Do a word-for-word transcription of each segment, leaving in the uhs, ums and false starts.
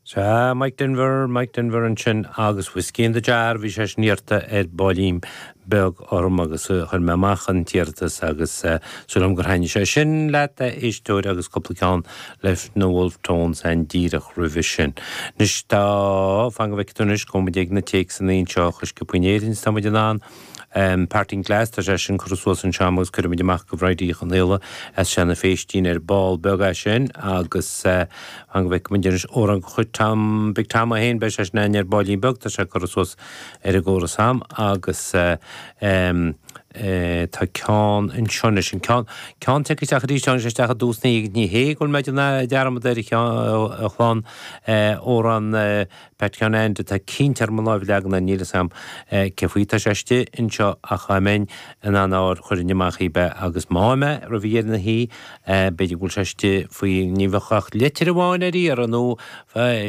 Sea, Mike Denver, Mike Denver ansin agus Whiskey in the Jar, bhí sé sin iarrta ar baillín beag orm agus chuir mé amach an t-iarratas agus súil agam gur thaitnigh sé sin leat, a éisteoir, agus cúpla ceann leis na Wolfe Tones ann díreach roimhe sin. Anois tá, fan go bhfeicfidh tú anois, gabhfaidh muid ag na téacsanna anseo a sciobadh in Éirinn is tá muid in ann. Parting Glass, tá sé sin curtha suas anseo agam agus cuirfidh muid amach go Bhridie Uí Chonaola as Seanadh Phéistín ar ball beag é sin agus fan go bhfeicfidh muid anois amhrán de chuid Tom, Big Tom é féin, beidh sé sin againn ar baillín beag, tá sé curtha suas ar an gcóras agam agus tá ceann anseo anois, an ceann, ceann tagtha isteach arís, tháinig sé isteach i dtús ní, ní hé go bhfuil mé ag déanamh dearmad air a chlann, amhrán Pat Sheáin Ainde, tá cinnte orm mo láimh a leagan air, níl fhios a'm cé faoi tá sé istigh anseo ach dá mbeinn in ann é a fháil chuirfinn amach dhaoib é agus má fhaighim é roimh dheireadh na hoíche b'fhéidir go bhfuil sé istigh faoi, ní bheadh ach litir amháin ar iarraidh nó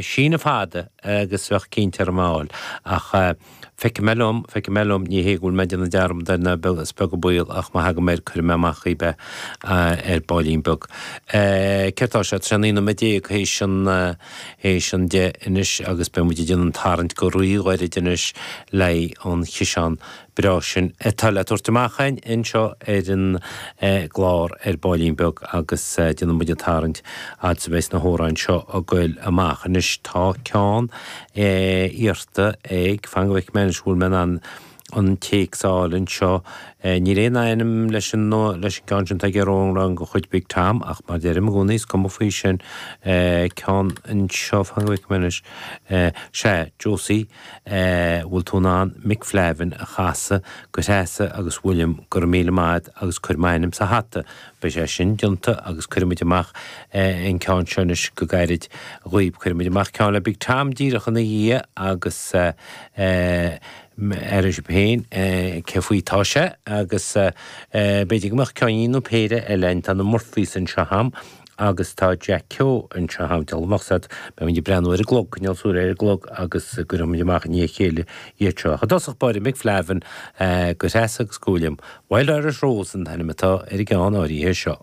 síneadh fada agus bheadh cinnte orm é a fháil ach feicfidh mé liom, feicfidh mé liom, ní hé go bhfuil mé ag déanamh dearmad air ná beag, is beag an baol ach má thagaim air cuirfidh mé amach dhaoib é ar baillín beag. Céard tá sé? Tá sé naoi nóiméad déag théis an, théis an deich anois agus beidh muid ag déanamh an tarraingt go ríghairid anois le haghaidh an chiseán breá sin atá le tabhairt amach againn anseo ar an gclár ar baillín beag agus déanfaidh muid an tarraingt fhad is a bheas na hamhráin seo ag goil amach. Anois tá ceann iarrta ag, fan go bhfeicfidh mé anois an bhfuil mé in ann an téacs a fháil anseo. Níl aon ainm leis an leis an gceann sin atá ag iarraidh amhrán de chuid Big Tom ach mar a deirim i gcónaí is cuma faoi sin. Ceann anseo, fan go bhfeicfidh mé anois. Sea, Josie, bhfuil tú in ann Mick Flavin a chasadh go Treasa agus William, go raibh míle maith agat agus cuir m'ainm sa hata. Beidh sé sin déanta agus cuirfidh muid amach an ceann seo anois go gairid dhaoib. Cuirfidh muid amach ceann le Big Tom díreach ina dhiaidh agus aireoidh sibh féin cé faoi tá sé agus b'fhéidir go mbeadh ceainnín nó péire eile ann. Tá na Murphys anseo a'm agus tá Jack Keogh anseo a'm. Dealbh amach said, beidh muid ag breathnú ar an gclog, coinneáil súil ar an gclog agus cuirfidh muid amach i ndiaidh a chéile iad seo. Ach i dtosach báire, Mick Flavin go Treasa agus go William. Wild Irish Rose an t-ainm atá ar an gceann áirithe seo.